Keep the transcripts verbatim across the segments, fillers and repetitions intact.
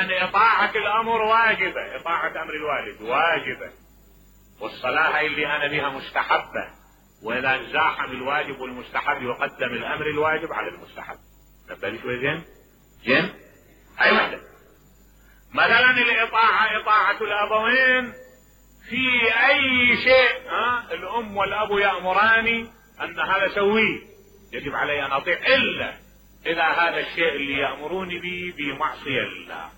لأن إطاعة الأمر واجبة، إطاعة أمر الوالد واجبة، والصلاة هي اللي أنا بها مستحبة، وإذا زاحم الواجب والمستحب يقدم الأمر الواجب على المستحب. نبدأ شوي زين زين. هاي وحدة. مثلا الإطاعة إطاعة الأبوين في أي شيء، ها الأم والأب يأمراني أن هذا سويه يجب علي أن أطيع، إلا إذا هذا الشيء اللي يأمروني به بمعصية لله،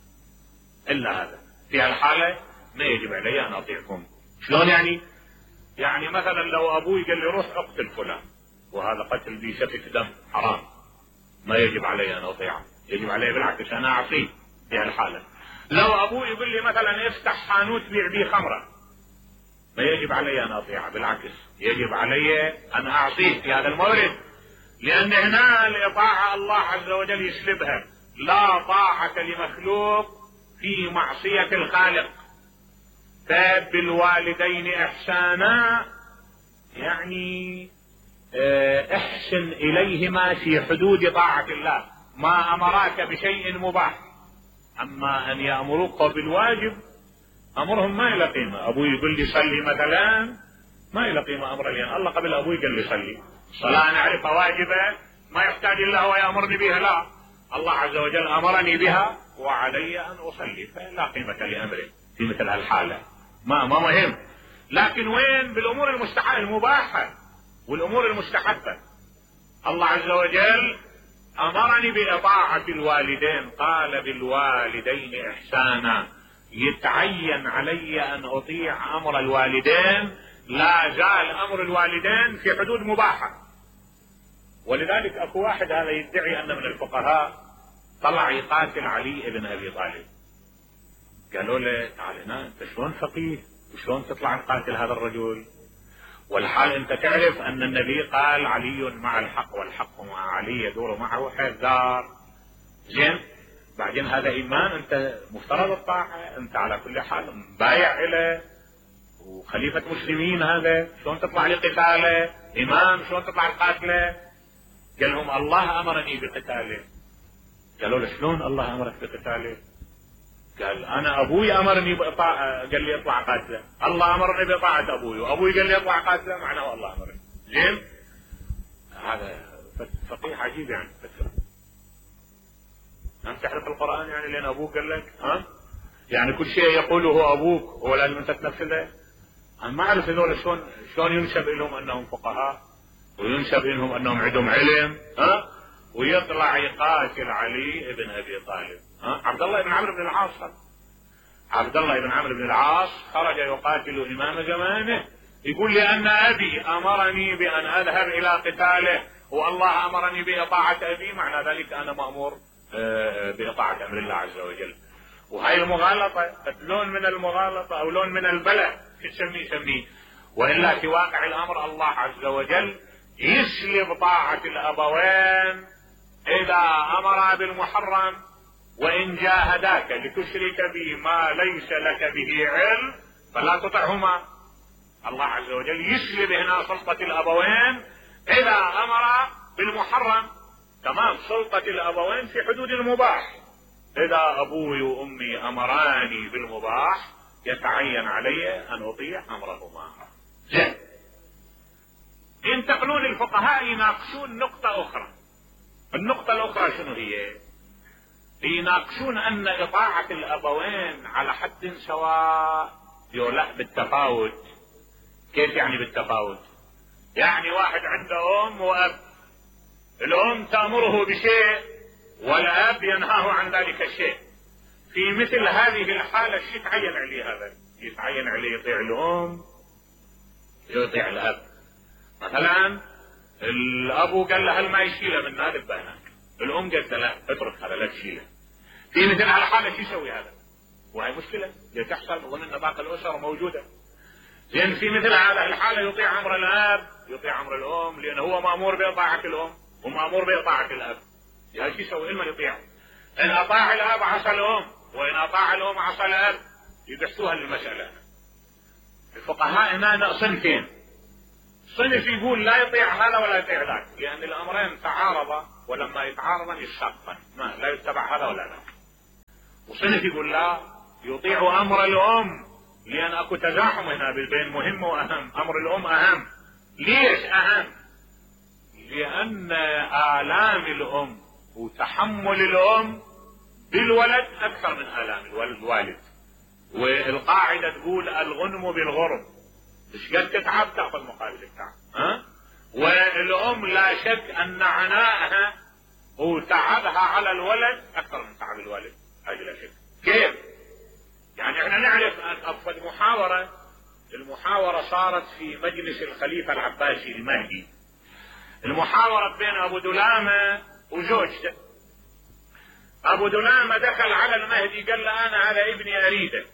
إلا هذا في هالحالة ما يجب علي أن أطيعكم. شلون يعني؟ يعني مثلا لو أبوي قال لي روح اقتل فلان، وهذا قتل ذي سفك دم حرام، ما يجب علي أن أطيعه، يجب علي بالعكس أنا أعصيه في هالحالة. لو أبوي يقول لي مثلا افتح حانوت بيع بيه خمرة، ما يجب علي أن أطيعه، بالعكس يجب علي أن أعصيه في هذا المورد، لأن هنا الإطاعة الله عز وجل يسلبها. لا طاعة لمخلوق في معصية الخالق. فبالوالدين إحسانا يعني احسن إليهما في حدود طاعة الله، ما أمراك بشيء مباح. أما أن يأمروك بالواجب أمرهم ما إلى قيمة. أبوي يقول لي صلي مثلا ما إلى قيمة أمر، لأن الله قبل أبوي قال لي صلي. الصلاة أنا أعرفها واجبة ما يحتاج إلا هو يأمرني بها، لا، الله عز وجل أمرني بها وعلي أن أصلي، فلا قيمة لأمره في مثل هالحالة، ما ما مهم. لكن وين بالأمور المستحبة المباحة والأمور المستحبة؟ الله عز وجل أمرني بإطاعة الوالدين، قال بالوالدين إحسانا، يتعين علي أن أطيع أمر الوالدين، لا زال أمر الوالدين في حدود مباحة. ولذلك أكو واحد هذا يدعي أن من الفقهاء طلع يقاتل علي بن أبي طالب، قالوا له تعال هنا أنت شلون فقيه وشلون تطلع تقاتل هذا الرجل، والحال أنت تعرف أن النبي قال علي مع الحق والحق مع علي يدور معه حذار. زين، بعدين هذا إيمان، أنت مفترض الطاعة، أنت على كل حال بايع إليه وخليفة مسلمين، هذا شلون تطلع لقتاله؟ إمام شلون تطلع لقاتله؟ قال لهم الله أمرني بقتاله. قالوا له شلون الله أمرك بقتاله؟ قال أنا أبوي أمرني بإطاعة، قال لي اطلع قاتله، الله أمرني بإطاعة أبوي وأبوي قال لي اطلع قاتله، معناه الله أمرني. زين، هذا فقيه عجيب يعني. فكرة أنت تعرف القرآن يعني لأن أبوك قال لك، ها يعني كل شيء يقوله أبوك هو لازم أنت تنفذه؟ أنا ما أعرف هذول شلون شلون ينسب لهم أنهم فقهاء وينسب لهم أنهم عندهم علم، ها ويطلع يقاتل علي بن أبي طالب. ها عبد الله بن عمرو بن العاص، عبد الله بن عمرو بن العاص خرج يقاتل إمام زمانه، يقول لأن أبي أمرني بأن أذهب إلى قتاله والله أمرني بإطاعة أبي، معنى ذلك أنا مأمور بإطاعة أمر الله عز وجل. وهي المغالطة لون من المغالطة أو لون من البلاء تسميه سميه، وإلا في واقع الأمر الله عز وجل يسلب طاعة الأبوين إذا أمر بالمحرم، وإن جاهداك لتشرك بي ما ليس لك به علم فلا تطعهما. الله عز وجل يسلب هنا سلطة الأبوين إذا أمر بالمحرم، تمام سلطة الأبوين في حدود المباح. إذا أبوي وأمي أمراني بالمباح يتعين علي أن أطيع أمرهما. زين، ينتقلون الفقهاء يناقشون نقطة أخرى. النقطة الأخرى شنو هي؟ يناقشون أن إطاعة الأبوين على حد سواء، لا بالتفاوت. كيف يعني بالتفاوت؟ يعني واحد عنده أم وأب، الأم تأمره بشيء والأب ينهاه عن ذلك الشيء. في مثل هذه الحالة شو يتعين عليه؟ هذا يتعين عليه يطيع الأم يطيع الأب. مثلا الأبو قال له هل ما يشيله من هذا البنات، الأم قالت لا اترك هذا لا تشيله. في مثل هالحالة شو يسوي هذا؟ وهي مشكلة تحصل، أظن أن باقي الأسر موجودة. لأن في مثل هذه الحالة يطيع أمر الأب يطيع أمر الأم، لأنه هو مأمور بإطاعة الأم ومأمور بإطاعة الأب. يعني شو يسوي؟ إما يطيع، إن أطاع الأب عصى الأم، وإن أطاع الأم عصى الأب. يبحثوها المسألة. الفقهاء هنا صنفين، صنف يقول لا يطيع هذا ولا يطيع ذاك، لأن الأمرين تعارضا، ولما يتعارضا يشتقا، ما لا يتبع هذا ولا ذاك. وصنف يقول لا، يطيع امر الام، لان اكو تزاحم هنا بين مهم واهم. امر الام اهم. ليش اهم؟ لان الام الام وتحمل الام بالولد اكثر من الام الوالد. والقاعدة تقول الغنم بالغرم، ايش قد تتعب تاخذ مقابل التعب. ها؟ والام لا شك ان عناءها وتعبها على الولد اكثر من تعب الوالد، هذه لا شك. كيف؟ يعني احنا نعرف ان افضل محاورة، المحاورة صارت في مجلس الخليفة العباسي المهدي، المحاورة بين ابو دلامة وزوجته. ابو دلامة دخل على المهدي قال له انا هذا ابني اريده،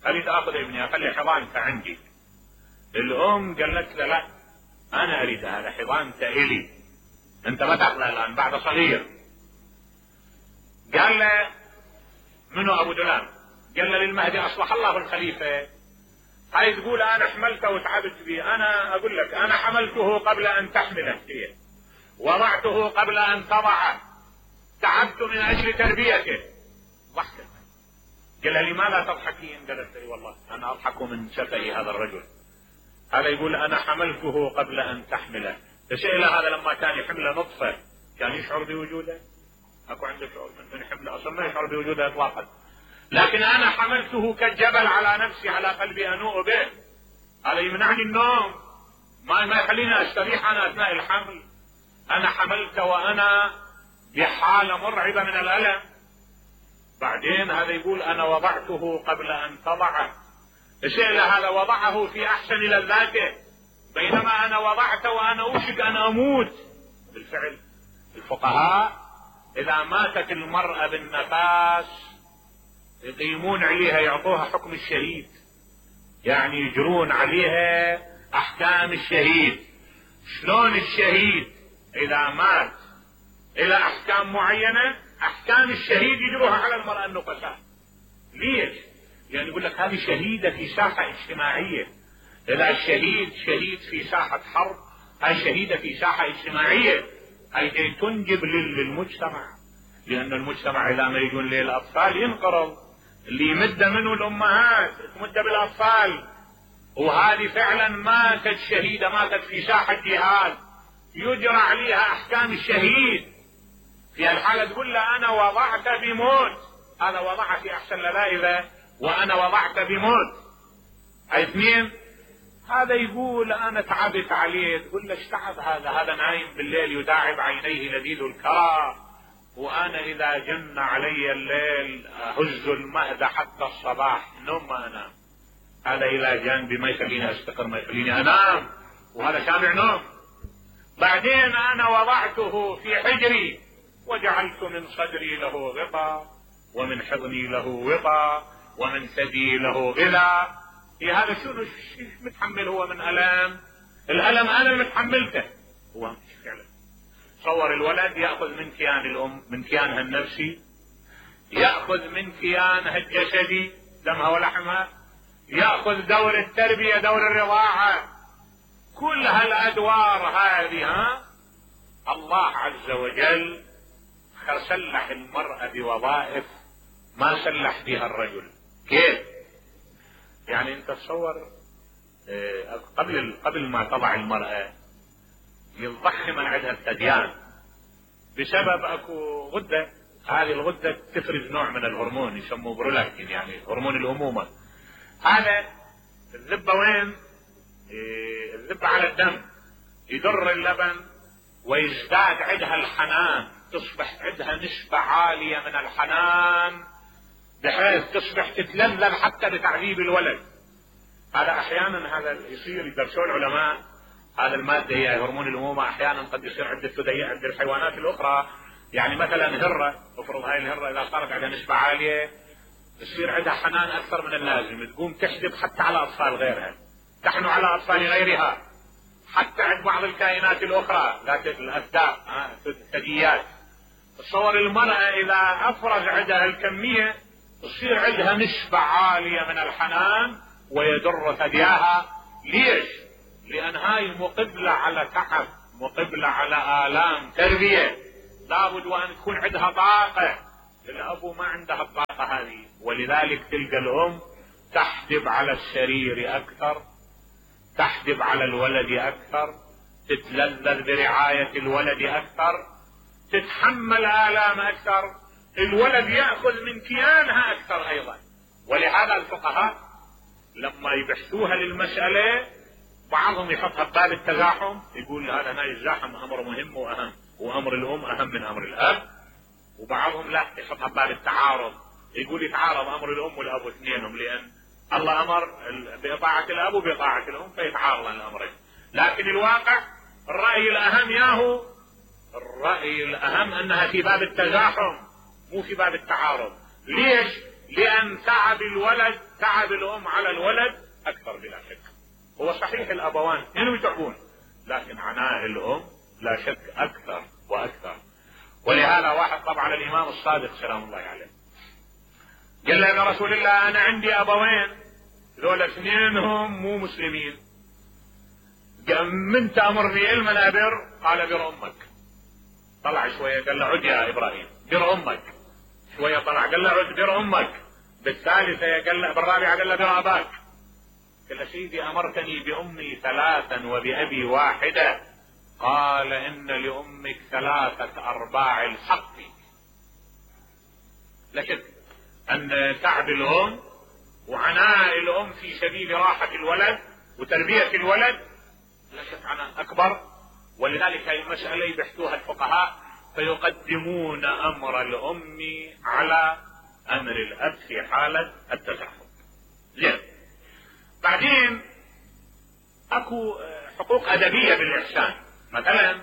اريد اخذ ابني اخلي حضانته عندي. الام قالت له لا، انا اريد هذا حضانته الي، انت ما تاخذه الان بعد صغير. قال له منو ابو دلام؟ قال له للمهدي اصلح الله الخليفة، هاي تقول انا حملته وتعبت به. انا اقول لك انا حملته قبل ان تحمله هي، وضعته قبل ان تضعه، تعبت من اجل تربيته. ضحكت. قال لها لماذا تضحكين؟ قالت لي والله انا اضحك من شفهي هذا الرجل، هذا يقول انا حملته قبل ان تحمله. تسأل هذا لما كان يحمله نطفة كان يشعر بوجوده؟ اكو عنده شعور من يحمله؟ اصلا ما يشعر بوجوده اطلاقا. لكن انا حملته كالجبل على نفسي على قلبي انوء به، هذا يمنعني النوم، ما ما يخليني استريح انا اثناء الحمل. انا حملت وانا بحالة مرعبة من الالم. بعدين هذا يقول انا وضعته قبل ان تضعه. الشيء هذا وضعه في احسن لذاته، بينما انا وضعته وانا اوشك ان اموت. بالفعل الفقهاء اذا ماتت المرأة بالنفاس يقيمون عليها، يعطوها حكم الشهيد، يعني يجرون عليها احكام الشهيد. شلون الشهيد اذا مات الى احكام معينة، احكام الشهيد يجروها على المرأة النفساء. ليش؟ يعني يقول لك هذه شهيدة في ساحة اجتماعية. اذا الشهيد شهيد في ساحة حرب، هاي شهيدة في ساحة اجتماعية، هاي تنجب للمجتمع، لان المجتمع اذا ما يجون للاطفال ينقرض، اللي يمد منه الامهات تمد بالاطفال. وهذه فعلا ماتت شهيدة، ماتت في ساحة جهاد، يجرى عليها احكام الشهيد. في الحالة تقول له انا وضعت بموت، هذا وضع في احسن لذائذة وانا وضعت بموت. اثنين، هذا يقول انا تعبت عليه، تقول له ايش تعب هذا؟ هذا نايم بالليل يداعب عينيه لذيذ الكرى، وانا اذا جن علي الليل اهز المهد حتى الصباح، نوم ما انام. هذا الى جانبي ما يخليني استقر، ما يخليني انام، وهذا شامع نوم. بعدين انا وضعته في حجري وجعلت من صدري له غطاء، ومن حضني له وطاء، ومن ثدي له غذاء. في هذا شنو متحمل هو من الام؟ الالم انا المتحملته هو مش فعلا. تصور الولد ياخذ من كيان الام، من كيانها النفسي، ياخذ من كيانها الجسدي دمها ولحمها، ياخذ دور التربيه، دور الرضاعه، كل هالادوار هذه. ها الله عز وجل سلح المرأة بوظائف ما سلح بها الرجل. كيف؟ يعني انت تصور قبل قبل ما تضع المرأة يضخم عندها الثديان بسبب اكو غدة، هذه الغدة تفرز نوع من الهرمون يسموه برولاكتين، يعني هرمون الامومة. هذا الذبة وين؟ الذبة على الدم، يدر اللبن ويزداد عندها الحنان، تصبح عندها نسبة عالية من الحنان بحيث تصبح تتلذذ حتى بتعذيب الولد. هذا احيانا هذا يصير، يدرسون العلماء هذا المادة هي هرمون الامومة، احيانا قد يصير عدة ثدييات عند الحيوانات الاخرى. يعني مثلا هرة، افرض هاي الهرة اذا صارت عندها نسبة عالية يصير عندها حنان اكثر من اللازم، تقوم تحجب حتى على اطفال غيرها، تحنو على اطفال غيرها، حتى عند بعض الكائنات الاخرى ذات الاسداء الثدييات. تصور المرأة اذا افرز عندها الكمية تصير عندها نسبة عالية من الحنان ويدر ثدياها. ليش؟ لان هاي مقبلة على تعب، مقبلة على آلام تربية، لابد وان تكون عندها طاقة. الابو ما عندها الطاقة هذه، ولذلك تلقى الأم تحجب على السرير أكثر، تحجب على الولد أكثر، تتلذذ برعاية الولد أكثر، تتحمل آلام أكثر، الولد يأخذ من كيانها أكثر أيضا. ولهذا الفقهاء لما يبحثوها للمسألة بعضهم يحطها بباب التزاحم، يقول هذا هنا الزاحم أمر مهم وأهم، وأمر الأم أهم من أمر الأب. وبعضهم لا، يحطها بباب التعارض، يقول يتعارض أمر الأم والأب اثنينهم، لأن الله أمر بإطاعة الأب وبإطاعة الأم فيتعارض الأمرين. لكن الواقع الرأي الأهم ياهو الرأي الأهم أنها في باب التزاحم مو في باب التعارض. ليش؟ لأن تعب الولد تعب الأم على الولد أكثر بلا شك. هو صحيح الأبوان اثنينهم يتعبون، لكن عناء الأم لا شك أكثر وأكثر. ولهذا واحد طبعا الإمام الصادق سلام الله عليه قال له يا رسول الله أنا عندي أبوين ذول اثنينهم مو مسلمين، من تأمرني علما أبر؟ قال بر أمك. طلع شوية قال له عد يا إبراهيم بر أمك. شوية طلع قال له عد بر أمك. بالثالثة قال له بالرابعة قال له بر أباك. قال له سيدي أمرتني بأمي ثلاثا وبأبي واحدة. قال إن لأمك ثلاثة أرباع الحق. لكن أن تعب الأم وعناء الأم في سبيل راحة الولد وتربية الولد لا شك عناء أكبر. ولذلك هذه المسألة يبحثوها الفقهاء فيقدمون أمر الأم على أمر الأب في حالة التزاحم. زين. بعدين أكو حقوق أدبية بالإحسان. مثلا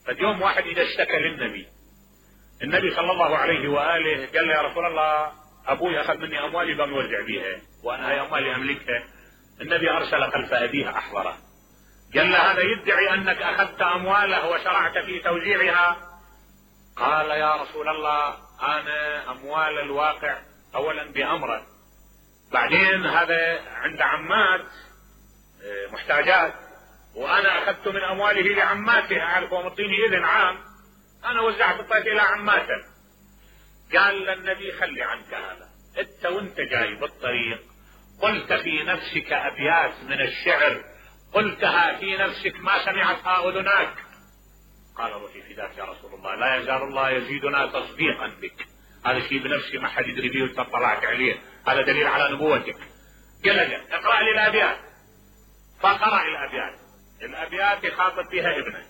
فاليوم واحد إذا اشتكى للنبي، النبي صلى الله عليه وآله قال له يا رسول الله أبوي أخذ مني أموالي بم يوزع بيها وأنا هي أموالي أملكها. النبي أرسل خلف أبيها أحضره قال له هذا يدعي أنك أخذت أمواله وشرعت في توزيعها. قال يا رسول الله أنا أموال الواقع أولا بأمره، بعدين هذا عند عمات محتاجات وأنا أخذت من أمواله لعماته أعرف ومطيني إذن عام أنا وزعت الطيف إلى عماته. قال للنبي خلي عنك هذا، أنت وأنت جاي بالطريق قلت في نفسك أبيات من الشعر قلتها في نفسك ما سمعتها أذناك. قال روحي فداك يا رسول الله لا يزال الله يزيدنا تصديقا بك. هذا شيء بنفسي ما حد يدري به وانت طلعت عليه، هذا دليل على نبوتك. قال له اقرأ لي الأبيات. فقرأ الأبيات. الأبيات يخاطب فيها ابنه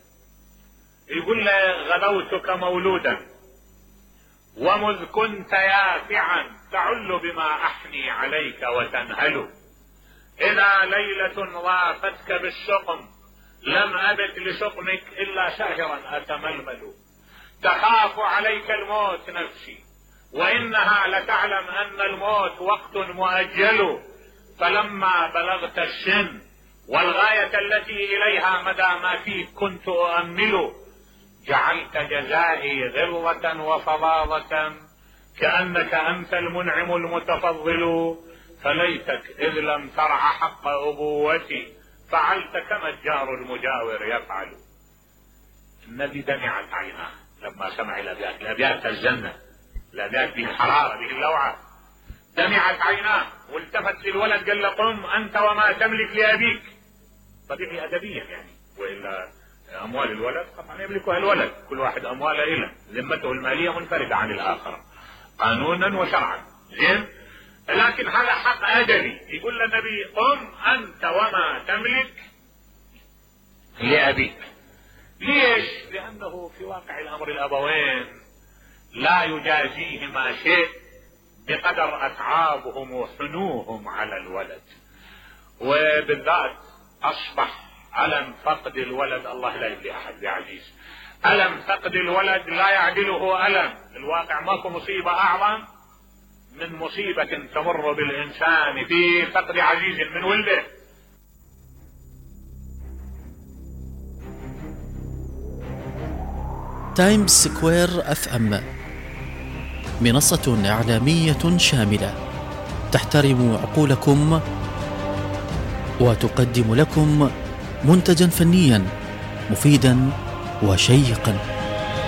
يقول له غدوتك مولودا ومذ كنت يافعا تعل بما أحني عليك وتنهل. إذا ليلة ضافتك بالشقم لم أبت لشقمك إلا شهرا أتململ. تخاف عليك الموت نفسي وإنها لتعلم أن الموت وقت مؤجل. فلما بلغت السن والغاية التي إليها مدى ما فيك كنت أؤمل جعلت جزائي غلظة وفظاظة كأنك أنت المنعم المتفضل. فليتك إذ لم ترع حق أبوتي فعلت كما الجار المجاور يفعل. النبي دمعت عيناه لما سمع الأبيات. الأبيات الجنة، الأبيات به الحرارة به اللوعة. دمعت عيناه والتفت للولد قال له قم أنت وما تملك لأبيك. طبيعي أدبيا يعني، وإلا أموال الولد طبعا يملكها الولد، كل واحد أمواله إله، ذمته المالية منفردة عن الآخر قانونا وشرعا. زين. لكن هذا حق أدبي. يقول للنبي قم أنت وما تملك لأبيك. ليش؟ لأنه في واقع الأمر الأبوين لا يجازيهما شيء بقدر أتعابهم وحنوهم على الولد. وبالذات أصبح ألم فقد الولد الله لا يبلي أحد بعزيز. ألم فقد الولد لا يعدله ألم. الواقع ماكو مصيبة أعظم من مصيبة تمر بالإنسان في فقد عزيز من ولده. تايمز سكوير اف ام منصة إعلامية شاملة تحترم عقولكم وتقدم لكم منتجا فنيا مفيدا وشيقا.